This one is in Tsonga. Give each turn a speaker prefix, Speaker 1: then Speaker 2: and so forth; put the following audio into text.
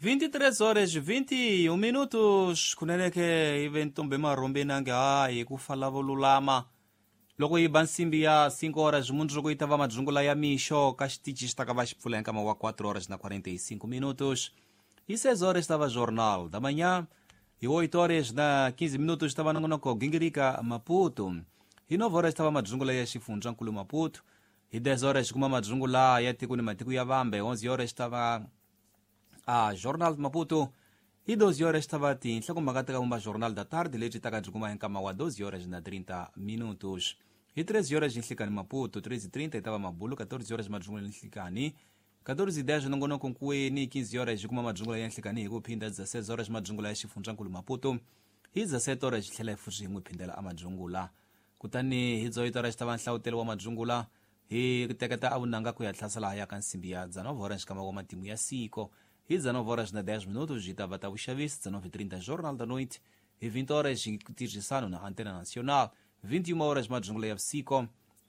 Speaker 1: 23 horas 21 minutos. Kunene ke ive ntombi marhombe nange hayi ku fa lavo lulama. Loko yi ba nsimbi ya 5 horas, mundzuku yi ta va madzungula ya mixo ka xitichi xi ta ka va xi pfula hi nkama wa 4 horas na 45 minutos. Hi 6 horas ta va Jornal da Manhã. Hi 8 horas na 15 minutos ta va nongonoko Gingirika Maputo. Hi 9 horas ta va madzungula ya xifundzankulu Maputo. Hi 10 horas kuma madzungula ya tiko ni matiko ya vambe. 11 horas ta va a Jornal de Maputo. Hi 12 horas ta va tinhlokomhaka ta ka vumba Jornal da Tarde, lebyi ta ka byi kuma hi nkama wa 12 horas na 30 minutos. Hi 13 horas nhlikani Maputo, 13:30 yi ta va mabulu, 14 horas madzungula ya nhlikani, 14:10 nongonoko nkuweni, 15 horas yi kuma madzungula ya nhlikani hi ku phinda, 16 horas madzungula ya xifundzankulu Maputo. Hi 17 horas xi tlhela hi futhi hi n'wi phindela a madzungula. Kutani hi 18 horas ta va nhlawutelo wa madzungula, hi teketa a vunanga ku ya hlasela ya ka nsimbi ya 19 horas kama wa matimu ya siko. Hi 19 horas na 10 minutos yi ta va ta vuxavisi, 19:30 Jornal da Noite. Hi 20 horas tirhisano na Antena Nacional. 21 horas madzungula ya vusiku.